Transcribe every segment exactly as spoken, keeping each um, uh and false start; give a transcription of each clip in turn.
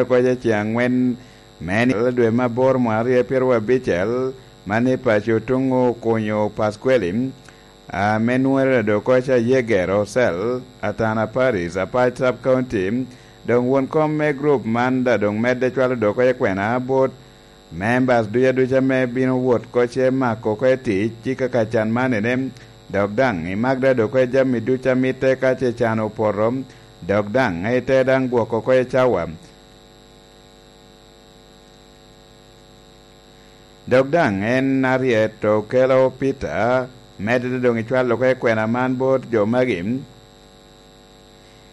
Okoc ceŋ angwen me nino dwe me aboro mwaka aryo pyeraryo abicel, man i paco tuŋ okunyo Pasquale, ame nwere dok okoc ayegero cell, Atana Paris, Apac Sub County. Doŋ won kom me group man daŋ doŋ medde cwalo dok okoc kwena bot members duca duca me bino wot koce mako oko i tic i kaka can man ene, dok daŋ i Magda dok okoc jami duca mitte ka ce can opoto, dok daŋ ite daŋ gwoko oko i cawa. Dok daŋ en aryet okelo Peter, medde doŋ i cwalo oko i kwena man bot jo magi.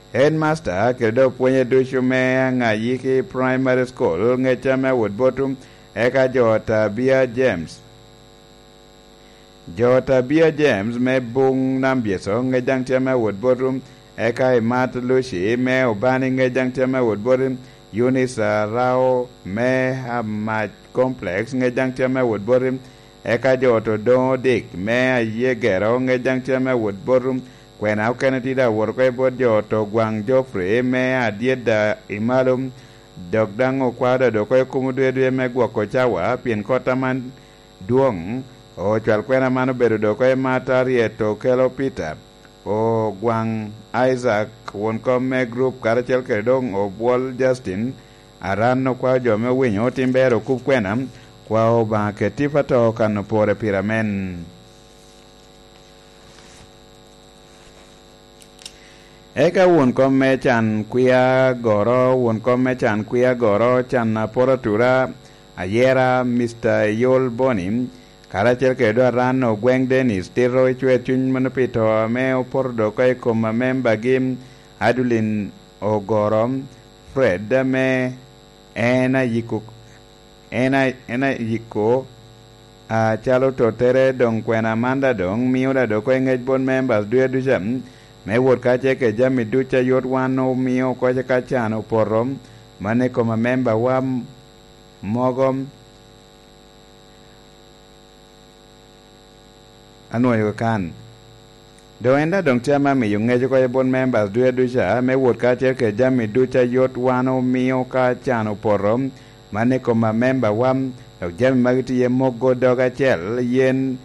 Headmaster kede dok pwonye ducu me Aŋayiki Primary School ŋec ame awot botu, eka jo Tabia James. Jo Tabia James me Buŋ Nambyeco ŋec daŋ tye ame awot botu, eka Imat Lucy me Obani ŋec daŋ tye ame awot botu, Eunice Arao me Amac Complex ŋec daŋ tye ame awot botu, eka jo ot Odoŋo Dik me Ayegero ŋec daŋ tye ame awot botu. Kwena okene tye daŋ awot oko i bot jo ot Ogwaŋ Geoffrey me Adyeda i Malo, dok daŋ okwao daŋ dok oko i kom odwedwe me gwoko cawa, pien kot aman dwoŋ. Ocwal kwena man obedo dok oko i Mata Ryeto Kelo Peter, Ogwaŋ Isaac, won kom me group, karacel kede doŋ Obwol Justin. Aran okwao jo me owinyo otim ber okub kwena, kwao Obaŋa keti pato kano pore pire amen. Eka won kom me can kwia goro, won kom me can kwia goro, can aporo atura, ayera, Mister Yol Boni, karacel kede dok aran Ogweng Dennis, tito i cwer cuny mano pi to ame opoto dok oko i kom amembagi, Adulin Ogoro, Fred, ame en ayiko en a, en ayiko, acalo tottere. Doŋ kwena man daŋ doŋ mio daŋ dok oko i ŋec bot members duca duca, me wot kacel kede jami ducu a yot wan omio oko ka can opoto, mano i kom amembawa mogo. Anwoyo kan. Doŋ en daŋ doŋ tye ame amiyo ŋec oko i bot members duca duca, me wot kacel kede jami ducu a yot wan omio ka can opoto, man i kom amembawa, dok jami magi tye iye mogo dog acel, yen,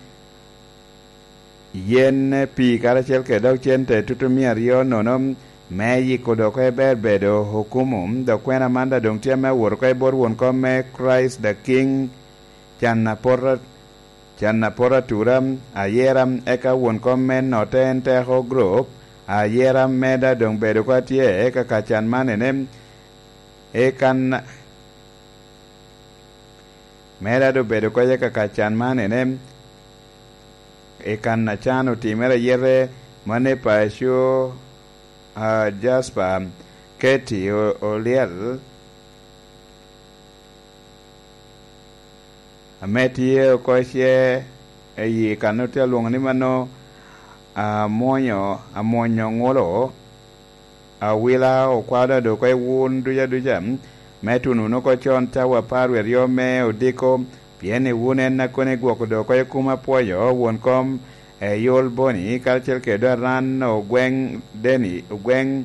yen pii karacel kede dok cente tutu mia aryo nono, me yiko dok oko i ber bedo okumu. Dok kwena man daŋ doŋ tye ame awot oko i bot won kom me Christ the King, can apota, can apota atura, ayera, eka won kom me notte en teko group, ayera, meda doŋ bedo oko atye, eka ka can man ene, i kan, meda doŋ bedo oko eka ka can man ene, i kan a can otimere ayete, mano i paco, a, Jasper, Katie, O-, Oliel, ame tye oko ice i kan otye alwoŋo ni mano, amwonyo, amwonyo ŋulo, awila, okwao daŋ dok oko i wun duca duca, me tuno wunu oko con cawa apar wie aryo me odiko, pien i wun en a kono igwoko dok oko i kum apwoyo, won kom, e Yol Boni, karacel kede dok aran Ogweng Deni, Ogweng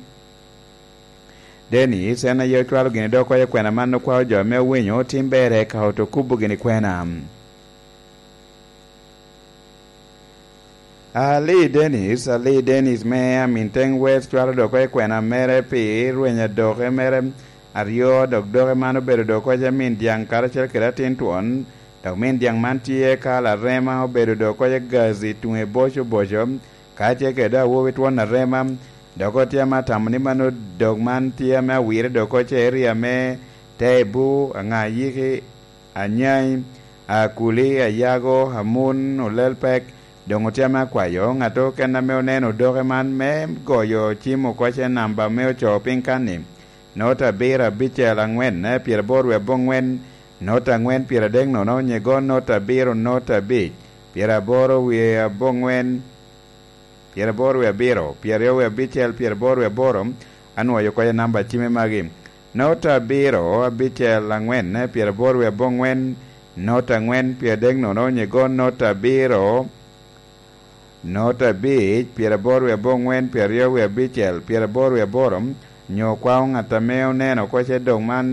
Dennis, en aye ocwalo gini dok oko i kwena man okwao jo ame owinyo otim ber eka oto kubo gini kwena. Ali Dennis, Ali Dennis me Aminteng West cwalo dok oko i kwena mere pi rweny adoke mere aryo, dok doke man obedo dok oko i min dyaŋ karacel kede atin twon, dok min dyaŋ man tye ka larema obedo dok oko i gazi tuŋe boco boco, ka tye kede awobi twon arema, dok otye ame atamo ni mano dok man tye ame awire dok oko i area me Tebu, Aŋayiki, Anyai, Akuli, Ayago, Amun, Olelpek, doŋ otye ame akwayo ŋat okene ame oneno odoke man me goyo cim oko i namba ame ocoo piny kan-ni, nota abiro abicel aŋwen, pyeraboro wie aboŋwen, nota aŋwen, pyeradek nono, nyigo nota abiro, nota abic, pyeraboro wie aboŋwen, pyeraboro wie abiro, pyeraryo wie abicel, pyeraboro wie aboro, anwoyo oko i namba cime magi. Nota abiro, abicel, aŋwen, pyeraboro wie aboŋwen, nota aŋwen, pyeradek nono, nyigo nota abiro, nota abic, pyeraboro wie aboŋwen, pyeraryo wie abicel, pyeraboro wie aboro, nyo kwao ŋat ame oneno oko i dok man,